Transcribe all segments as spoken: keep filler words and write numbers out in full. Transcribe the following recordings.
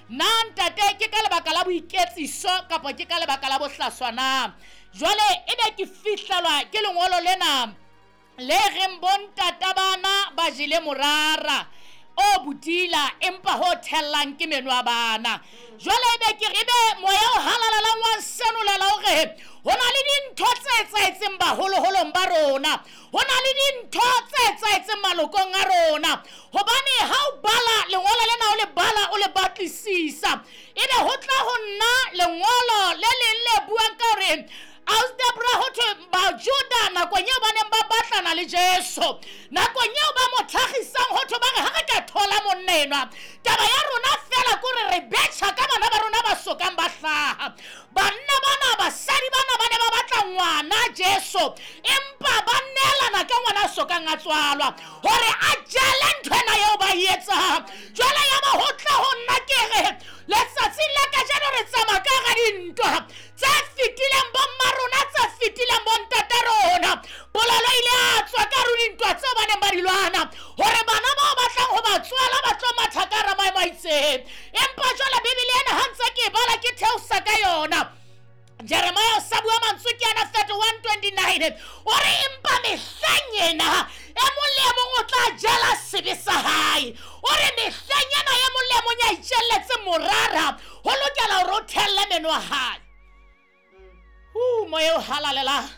Na ntate ke ka lebaka la boiketsiso kapa ke ka lebaka la bohlaswa na? Jwale ebe ke fihlelwa ke lengolo lena le reng bontata bana ba jele morara o bodila empa ho thellang ke meno a bana. Jwale ebe ke ebe moya o halalelang wa senolela hore ho na le dintho tse etsahetseng baholoholong ba rona, ho na le dintho tse etsahetseng malokong a rona. Hobane ha o bala lengolo lena, o le bala o le batlisisa, ebe ho tla ho nna lengolo le leng le buang ka hore Ausdebra ho thwe Bajuda nakong eo ba neng ba batlana le Jesu, nakong eo ba mo tlhagisang ho thwe ba re ha re ka thola monna enwa, taba ya rona fela ke hore re betjha ka bana ba rona ba sokang ba hlaha. Banna bana, basadi bana ba ne ba batla ngwana Jesu, empa ba neelana ka ngwana a sokang a tswalwa hore a jele ntho ena eo ba e etsang. Jwale ya ba ho tla ho nna ke re letsatsing la kajeno re tsamaya ka hara dintwa tse fetileng bomma rona, tse fetileng bontata rona. Polelo ile ya tswa ka hare ho dintwa tseo ba neng ba di lwana hore bana bao batlang ho ba tswala ba tlo matha ka hara maemo a itseng. Empa jwale Bibele ena ha ntse ke e bala ke theosa ka yona, Jeremiah o sa bua mantswe ke ana thirty-one twenty-nine, o re empa mehleng ena e mong le e mong o tla jela sebe sa hae. O re mehleng ena e mong le e mong ya itjelletse morara ho lokela hore o thelle meno a hae. Hu, moya o halalelang.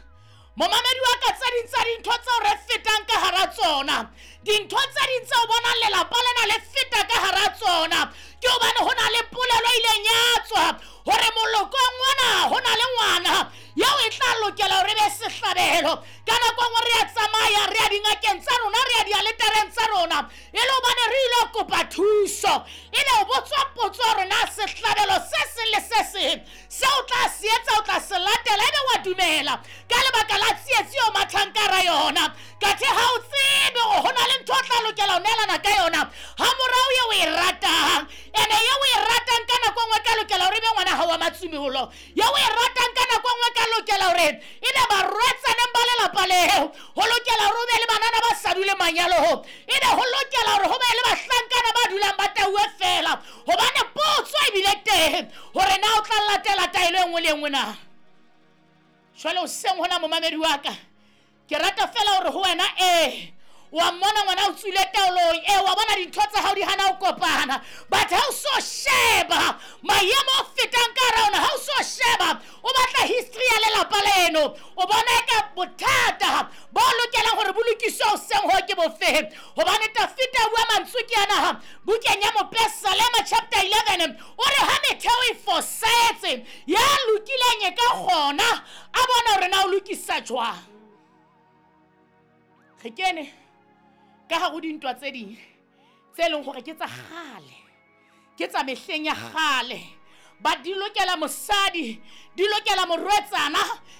Momamedi wa ka, tse ding tsa dintho tseo re fetang ka hara tsona, dintho tse ding tseo bonang lelapa lena le feta ka hara tsona, ke hobane ho na le polelo e ileng ya tswa hore molokong ona ho na le ngwana eo e tla lokela hore e be sehlabelo. Ka nako e nngwe re a tsamaya re ya dingakeng tsa rona, re ya dialetareng tsa rona, e le hobane re ile kopa thuso. Ebe o botswa potso hore na sehlabelo se seng le se seng seo o tla se etsa o tla se latela, ebe wa dumela ka lebaka la tsietsi eo mathang ka hara yona. Kathe ha o tsebe hore ho na le ntho o tla lokela ho neelana ka yona ha morao eo o e ratang, ene eo o e ratang ka nako e nngwe ka lokela hore ebe ngwana hao wa matsumeholo, eo o e ratang ka nako e nngwe ka lokela hore ebe barwetsaneng ba lelapa leo, ho lokela hore o be le banana ba sa dule manyalong, ebe ho lokela hore ho be le bahlankana ba dulang ba tauwe fela. Hobane potso ebile teng hore na o tla latela taelo e nngwe le e nngwe na. Jwale hoseng hona momamedi wa ka, ke rata fela hore ho wena ee wa mmona ngwana o tswile taolong, ee wa bona dintho tsa hao di hana ho kopana, but ha o so sheba maemo o fetang ka hara ona, ha o so sheba o batla history ya lelapa leno, o bona eka bothata bo lokelang hore bo lokiswe hoseng ho ke bofeng. Hobane Tafita o bua mantswe ke ana bukeng ya Mopesalema chapter eleven, o re ha metheo e fosahetse, ya lokileng e ka kgona a bona hore na o lokisa jwang. Re kene ka hare ho dintwa tse ding tse leng hore ke tsa kgale, ke tsa mehleng ya kgale, ba di lokela mosadi, di lokela morwetsana,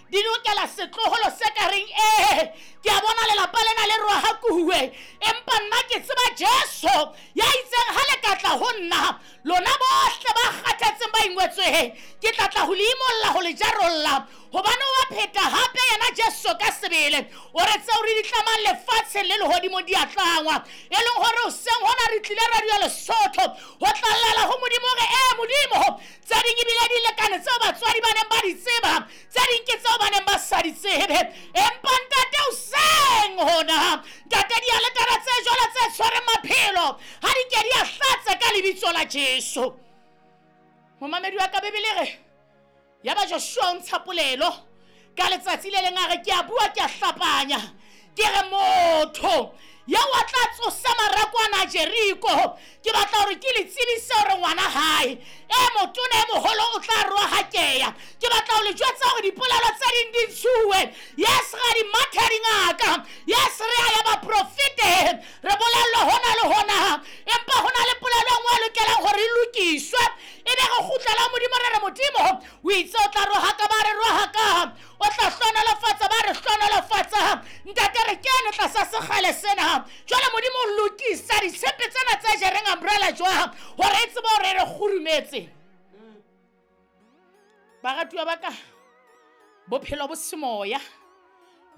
di lokela setloholo se ka reng ee ke a bona lelapa lena le rohakuwe, empa nna ke tseba Jesu ya itseng ha le ka tla ho nna lona bohle ba kgathetseng ba ingwetsweng, ke tla tla ho le imolla ho le jarolla. Hobane wa pheta hape yena Jesu ka sebele, o re tseo re di tlamang lefatsheng le lehodimo di a tlangwa, e leng hore hoseng hona re tlile radio Lesotho ho tlallela ho Modimo hore ee Modimo, tse ding ebile di lekane tseo batswadi ba neng ba di tseba, tse ding ke tseo ba neng ba sa di tsebe. Empa ntate hoseng hona, ntate dialetara tse jwalo tse tshwereng maphelo ha di ke di a hlatse ka lebitso la Jesu. Momamedi wa ka, Bibele re ya ba Joshua o ntsha polelo ka letsatsi le leng a re ke a bua ke a hlapanya, ke re motho ya wa tla tsosa marako ana Jeriko, ke batla hore ke le tsebise hore ngwana hae e motona e moholo o tla rohakeya. Ke batla ho le jwetsa hore dipolelo tse ding di ntshuwe. Yes, ra di matha dingaka, yes, re a ya baprofete, re bolellwa hona le hona, empa hona le polelo e nngwe e lokelang hore e lokiswe. Ebe re kgutlela Modimo re re Modimo o itse o tla rohaka ba re rohaka, o tla hlohonolofatsa ba re hlohonolofatsa. Ntate re kene tlasa sekgale sena. Jwale Modimo o lokisa ditshepe tsena tse jereng umbrella jwang hore e tsebe hore re kgurumetse. Baratuwa ba ka, bophelo bo semoya